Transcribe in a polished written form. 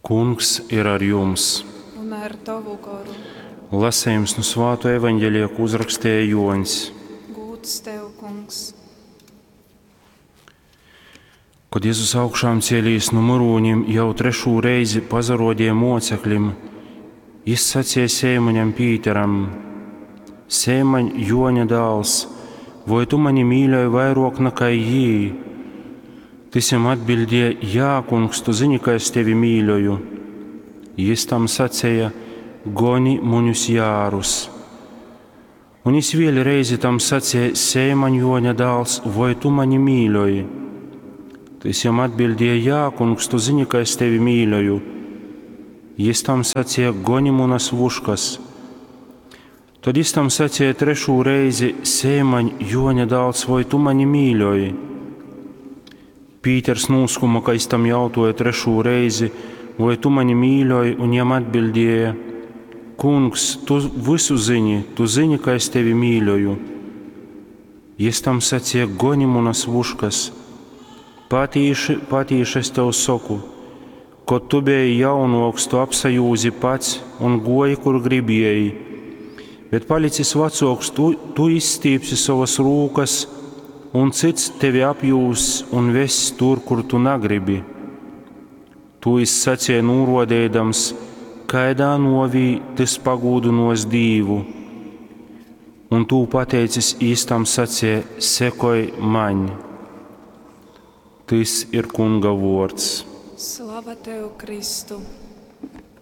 Kungs ir ar jums! Un ar tovu goru. Lasījums nu Svāto evaņģēlija, ko uzrakstīja Joņs. Gūds tev, kungs. Kad Jēzus augšām cēlīs nu murūņiem, jau trešū reizi pazarodīja moceklim, jis sacīja Seimaņam Pīteram: Seimaņ, Joņa dāls, voi tu mani mīļoji vairāk nekā jī? Tys jam atbildēja: Jā, kungs, tu zini, ka es tevi mīļoju. Jis tam sacīja: Goni muņus jārus. Un jis vēl reizi tam sacīja: Seimaņ, Joņa dāls, voi tu mani mīļoji? Tys jam atbildēja: Jā, kungs, tu zini, ka es tevi mīļoju. Jis tam sacīja: Goni munas vuškas. Tad jis tam sacīja trešū reizi: Seimaņ, Joņa dāls, voi tu mani mīļoji? Pīters nūskuma, ka jis tam jautoja trešū reizi, voi tu mani mīļoji, un jam atbildēja: Kungs, tu visu zini, tu zini, ka es tevi mīļoju. Jis tam sacīja: Goni munas vuškas. Patīši, patīši es tev saku, kad tu biji jaunoks, tu apsajūzi pats un goji, kur gribēji. Bet palicis vecoks, tu, tu izstīpsi savas rūkas, un cits tevi apjūs un vess tur, kur tu negribi. Tu izsacīja nūrodēdams, kaidā novī tas pagūdinos Dīvu. Un tu pateicis īstam sacīja, sekoj maņ. Tys ir Kunga vārds. Slava tev, Kristu!